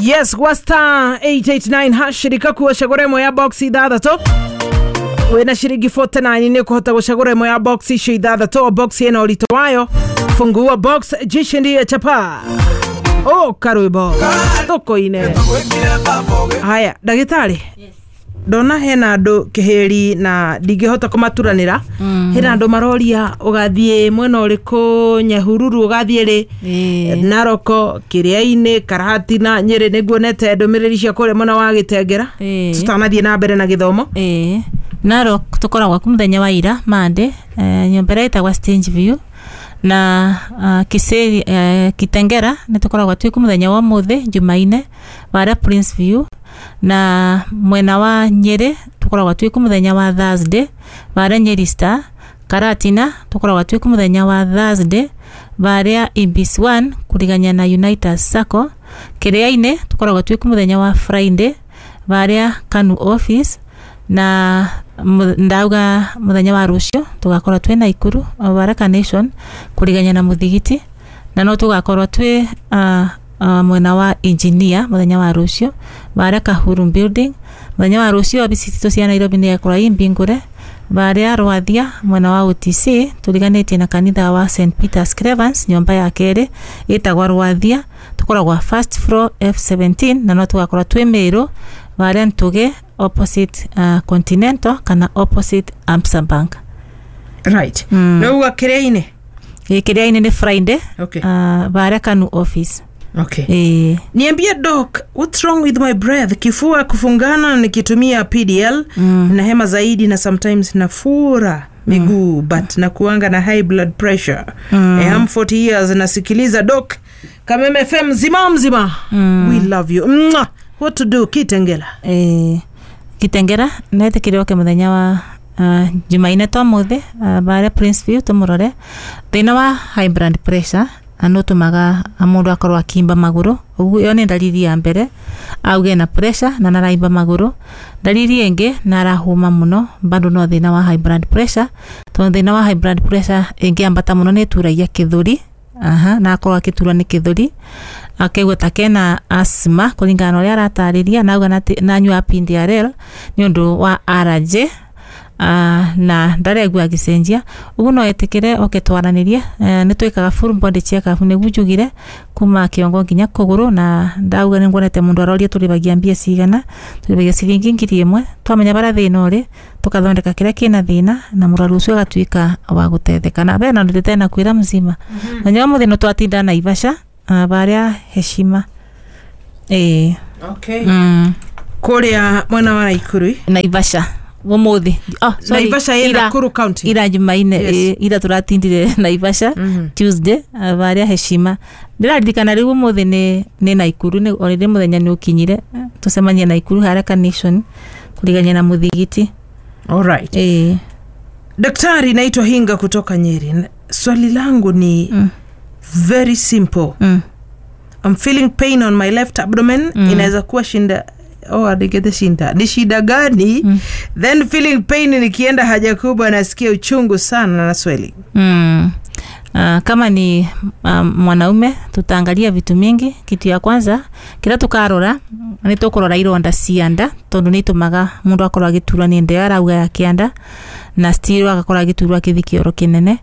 Yes, gwa star 889 hash rikakuo cagũra ĩmwe ya box ithathatũ wĩna ciringi 49 nĩ ũkũhota gũcagũra ĩmwe ya box icio ithathatũ o box ĩna ũritũ wayo. Fungua box, jishindie chapa o karwĩmbo thoko-inĩ. Haya, ndagĩtarĩ, ndona hena andũ kĩhĩri na ndingĩhota kũmaturanĩra. Hena andũ maroria ũgathiĩ mwena ũrĩkũ, Nyahururu ũgathiĩ rĩ? Ĩĩ. Naroko, Kĩrĩa-inĩ, Karatina, Nyĩrĩ. Nĩguonete ndũmĩrĩri cia kũrĩa mwena wa Gĩtengera. Ĩĩ. Tũtanathiĩ na mbere na gĩthomo. Ĩĩ, Narok tũkoragwo ku mũthenya wa ira Monday, nyũmba ĩrĩa ĩtagwa Stage View na Kiseri, Kitengera nĩ tũkoragwo twĩ ku mũthenya wa ũmũthĩ Jumaine varia Prince View, na mwena wa Nyĩrĩ tũkoragwo twĩ ku mũthenya wa Thursday varia Nyeri Star. Karatina tũkoragwo twĩ ku mũthenya wa Thursday varia Ibis 1 kũrigania na Unitas Sacco. Kĩrĩa-inĩ tũkoragwo twĩ ku mũthenya wa Friday varia Kanu office, na ndauga muthenya wa rucio tugakorwo twi Naikuru Baraka Nation kurigania na muthigiti, na no tugakorwo twi mwena wa Engineer muthenya wa rucio varia Kahuru building. Muthenya wa rucio obici citũ cia Nairobi nĩ igakorwo i mbingũre varia Rwathia mwena wa OTC turiganĩtie na kanitha wa St Peter's Clevens, nyũmba ya kerĩ ĩtagwa Rwathia, tũkoragwa first floor F17, na no tugakorwo twĩ Meru varia Ntuge opposite Continental kana opposite Absa Bank. Right. Nĩ uga Kĩrĩa-inĩ? Ĩ, Kĩrĩa-inĩ nĩ Friday. Varia Kanu office. Ĩ. Niambie doc, what's wrong with my breath? Kifua kufungana nikitumia PDL na hema zaidi na sometimes nafura miguu, but nakuanga na high blood pressure. I'm 40 years, nasikiliza doc Kameme FM mzima mzima. We love you. Mwah! What to do, Kitengela? Kitengera netikire oke muthenya wa Jumaine twa muthi baria Prince View tumurore. Thina wa high blood pressure nä mundu akorwo akimba maguru. Uguo iyo nĩ ndariri ya mbere, auge na pressure na naraimba maguru. Ndariri ĩngĩ na arahũma mũno, bado no thĩna wa high blood pressure, tondũ thĩna wa high blood pressure ĩngĩambata mũno nĩ ĩturagia gĩthũri. Aha, na akorwo akĩturwo nĩ gĩthũri, akaigua ta kena asthma kũringana na ũrĩa aratarĩria, na auga nanyua PDRL nĩ ũndũ wa allergy, na ndaregua agĩcenjia. Ũguo no etĩkĩre oke twaranĩrie. Nĩ twĩkaga full body check up nĩguo njugire kuma kĩongo nginya kũgũrũ, na ndauga nĩ nguonete mũndũ aroria tũrĩbagia mbia cigana. Tũrĩbagia ciringi 1,000. Twamenya barĩa thĩna ũrĩ, tũkathondeka kĩrĩa kĩna thĩna na mũrwaru ũcio agatuĩka wa gũtetheka. Na bena ũndũ ndĩtena kwĩra mzima na nyawa mũthĩ no twatinda Naivasha, barĩa Heshima. Ĩĩ. Kũrĩa mwena wa Naikuru? Naivasha ũmũthĩ. Oh, sorry. Naivasha ĩ Nakuru County. Ira Jumaine. Yes. Ĩ, ira turatindire Naivasha Tuesday, varia Heshima. Ndĩraririkana rĩu ũmũthĩ nĩ Naikuru, nĩ already mũthenya nĩ ũkinyire. Tũcemanie Naikuru harĩa Carnation kũrigania na mũthigiti. All right. Ĩĩ. Daktari, naitwa Hinga kutoka Nyeri. Swali langu ni very simple. I'm feeling pain on my left abdomen. Inaweza kuwa shinda? Oh, adigete shinda ni shida gani? Then feeling pain nikienda haja kubwa, nasikia uchungu sana na swelling. Kama ni mwanaume tutaangalia vitu mingi. Kitu ya kwanza kira tukarora nĩ tũkũrora ironda cia nda, tondũ nĩ itũmaga mũndũ akorwo agĩturwo nĩ nda ĩyo arauga ya kĩanda, na still agakorwo agĩturwo akĩthi kĩoro kĩnene,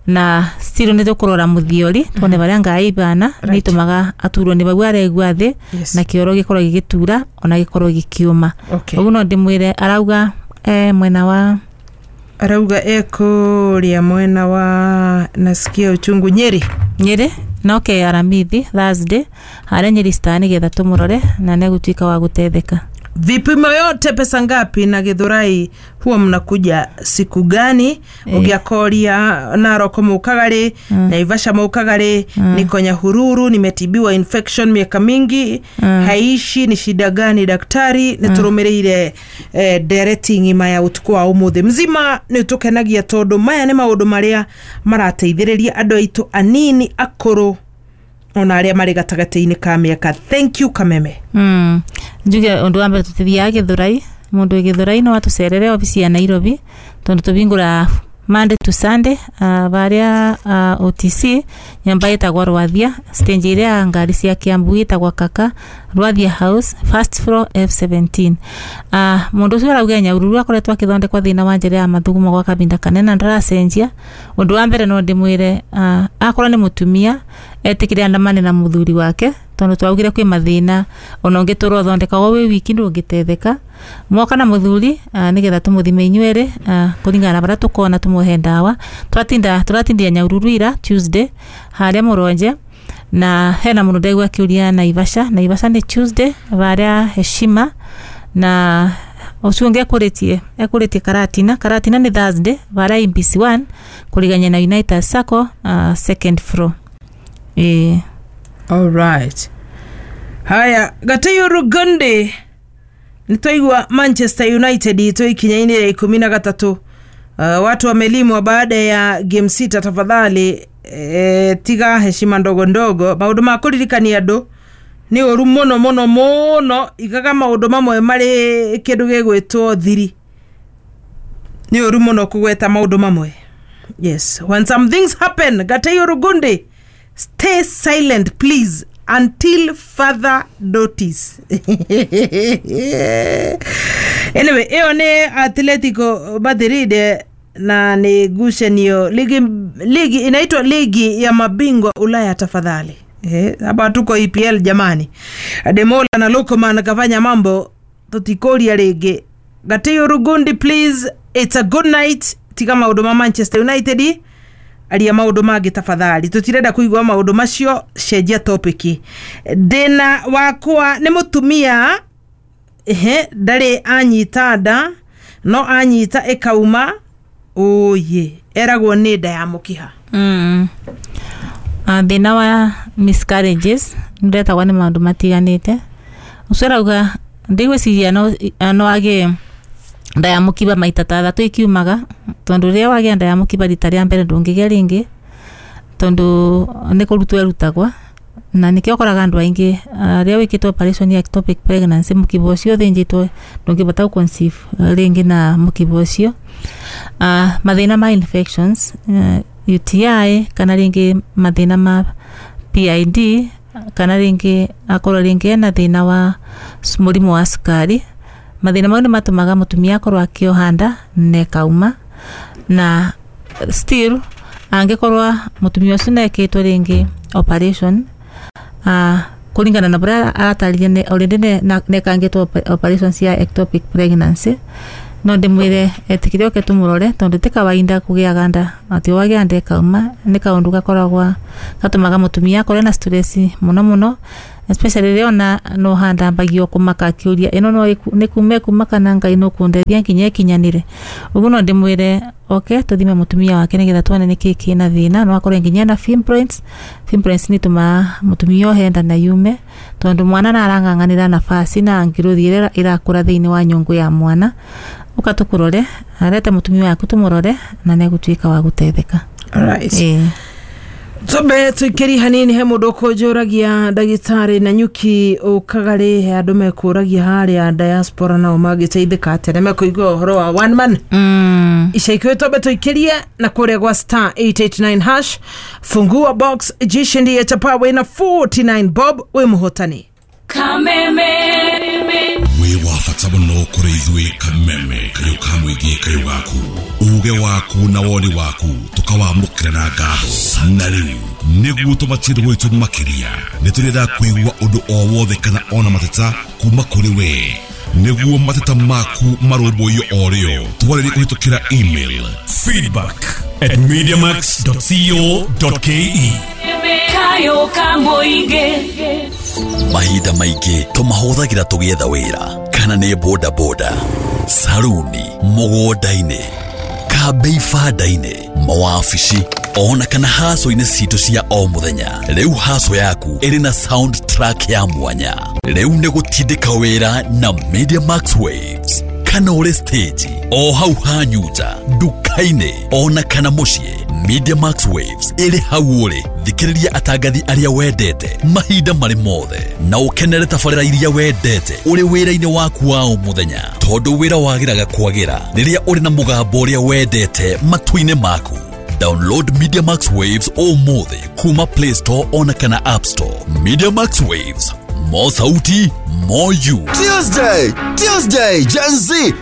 na still nĩ tũkũrora mũthiori tuone barĩa ngai ibana nĩ itũmaga aturwo nĩ bau aregua thĩ na kĩoro gĩkorwo gĩgĩtura ona gĩkorwo gĩkĩũma. Ũguo no ndĩmwĩre arauga mwena wa Arauga ekũrĩa mwena wa nasikia uchungu, Nyeri. Nyeri noke Aramithi Thursday harĩa Nyeri Star nĩgetha tũmũrore na nĩegũtuĩka wa gũtetheka. Vipimo yote pesa ngapi, na Githurai huwa mnakuja siku gani? Ũngĩakoria Naroko mũkaga rĩ? Naivasha mũkaga rĩ? Niko Nyahururu, nimetibiwa infection miaka mingi, haishi, ni shida gani daktari? Nĩ tũrũmĩrĩire ndereti ng'ima ya ũtukũ wa ũmũthĩ mzima. Nĩ tũkenagia tondũ maya nĩ maũndũ marĩa marateithĩrĩria andũ aitũ anini, akũrũ, ona arĩa marĩ gatagatĩ-inĩ ka mĩaka. Thank you, Kameme. Njuge ũndũ wa mbere, tũtithiaga Gĩthũrai. Mũndũ wĩ Gĩthũrai no atũcerere obici ya Nairobi, tondũ tũbingũraga Monday to Sunday varia OTC nyumba itagwa Rwathia stage iria ya ngari cia Kiambu itagwa Kaka Rwathia House first floor F17. Mundu ucio arauga Nyahururu akoretwo akithondekwa thina wa njira ya mathugumo gwa kahinda kanene na ndaracenjia. Undu wa mbere no ndimwire akorwo ni mutumia etikire andamane na muthuri wake tondu twaugire kwi mathina ona ungiturwo thondekagwo wi wiki ndungitetheka mwoka na muthuri nigetha tumuthime inyuere kuringana na baria tukona tumuhe ndawa. Turatindia Nyahururu ira Tuesday haria Muronje na hena mundu ndaigua akiuria Naivasha. Naivasha ni Tuesday varia Heshima na ucio ungi ekuritie Karatina. Karatina ni Thursday varia MBC1 kurigania na United Sacco second floor. All right. Haya, Gatiyu Rugundi nitwaigua Manchester United itå ikinya-inĩ rĩa 13. Watu wamelimwa baada ya game 6. Tafadhali tiga heshima ndogo ndogo. Maũndũ ma kũririkania andũ nĩ ũru mũno mũno mũno, igaga maũndũ mamwe marĩ kĩndũ gĩgwĩtwo thiri. Nĩ ũru mũno kũgweta maũndũ mamwe. Yes, when some things happen, Gatiyu Rugundi, stay silent please until further notice. Anyway, ĩyo nĩ Atletico Madrid na nĩ ngucanio ligi inaitwa ligi ya mabingwa Ulaya. Tafadhali hapa tuko EPL jamani. Ademola na Lookman kafanya mambo tutikoria rĩngĩ. Gatiyu Rugundi please, it's a good night. Tiga maũndũ ma Manchester United, aria maũndũ mangĩ tafadhali, tutirenda kuigua maũndũ macio, cenjia topic. Ndĩna wakwa nĩ mũtumia ndarĩ anyita nda no anyita ĩkauma ũyĩ eragwo nĩ nda ya mũkiha. Thĩna wa miscarriages nĩũretagwo nĩ maũndũ matiganĩte. Ũcio arauga ndigwĩciria no agĩe nda ya mũkiba maita ta 3 ikiumaga, tondu rĩrĩa wagĩa nda ya mũkiba rita rĩa mbere ndũngĩgĩa rĩngĩ tondu nĩ kũrutwo ĩrutagwa, na nĩkĩo ũkoraga andũ aingĩ rĩrĩa wĩkĩtwo operation ya ectopic pregnancy mũkiba ũcio ũthĩnjĩtwo ndũngĩbota gũ conceive rĩngĩ na mũkiba ũcio. Mathĩna ma infections UTI kana rĩngĩ mathĩna ma PID kana rĩngĩ akorwo rĩngĩ ena thĩna wa mũrimũ wa cukari. Mathĩna mau nĩ matũmaga mũtumia akorwo akĩoha nda na ĩkauma, na still angĩkorwo mũtumia ũcio nĩekĩtwo rĩngĩ operation kũringana na ũrĩa aratarĩria already nĩekangĩtwo operation cia ectopic pregnancy, no ndĩmwĩre etĩkĩre oke tũmũrore tondu ti kawaida kũgĩaga nda atĩ wagĩa nda ĩkauma. Nĩ kaũndũ gakoragwa gatũmaga mũtumia akorwo na stress mũno mũno, especially rĩrĩa ona no handambagio kũmaka akĩũria ĩno no nĩ kuma ĩkuma kana Ngai no kũndeithia nginya ĩkinyanĩre. Ũguo no ndĩmwĩre oke tũthime mũtumia wake nĩgetha tuone nĩkĩĩ kĩna thĩna. No akorwo nginya na fibroids. Fibroids nĩ itũmaga mũtumia ohe nda na yume tondu mwana arang'ang'anĩra nafasi na ngirũthi ĩrĩa ĩrakũra thĩinĩ wa nyũngũ ya mwana. Ũka tũkũrore, arete mũtumia waku tũmũrore na nĩegũtuĩka wa gũteithĩka. Alright. Tumbe tuikeri hanini he mundu kunjuragia ndagitari na nyuki ukaga ri he andu mekuragia haria diaspora nao magiteithika atia na mekuigua uhoro wa one man. Ica ikuhi tumbe tuikirie na kuria gwa star 889 hash fungua box jishindie chapa wina 49 bob wi muhotani. Kameme wi wa bata mũno kũrĩ ithuĩ. Kameme kayũ ka mũingĩ kayũ gaku uge waku na woni waku tũkawamũkĩra na ngatho. Na rĩu nĩguo tũmatie gwitũ makĩria nĩ tũrenda kũigua ũndũ o wothe kana ona mateta kuma kũrĩ we nĩguo mateta maku marũmbũiyo o rĩo. Twarĩrie kũhĩtũkĩra email feedback@mediamax.co.ke. Kayo ka mũingĩ. Mahinda maingĩ tũmahũthagĩra tũgĩetha wĩra kana nĩ boda boda, saruni, mũgũnda-inĩ, kambĩ ibanda-inĩ, mawabici ona kana haco-inĩ citũ cia o mũthenya. Rĩu haco yaku ĩrĩ na sound track ya mwanya. Rĩu nĩ gũtindĩka wĩra na Media Max Waves kana ũrĩ stage o hau hanyuta nduka-inĩ ona kana mũciĩ. Media Max Waves ĩrĩ hau ũrĩ. Thikĩrĩria atangathi arĩa wendete mahinda marĩ mothe na ũkenere tabarĩra iria wendete ũrĩ wĩra-inĩ waku wa o mũthenya. Tondũ wĩra wagĩraga kwagĩra rĩrĩa ũrĩ na mũgambo ũrĩa wendete matũ-inĩ maku. Download Media Max Waves ũmũthĩ kuma Play Store ona kana App Store. Media Max Waves, more sauti, more you. Tuesday, Tuesday, Gen Z.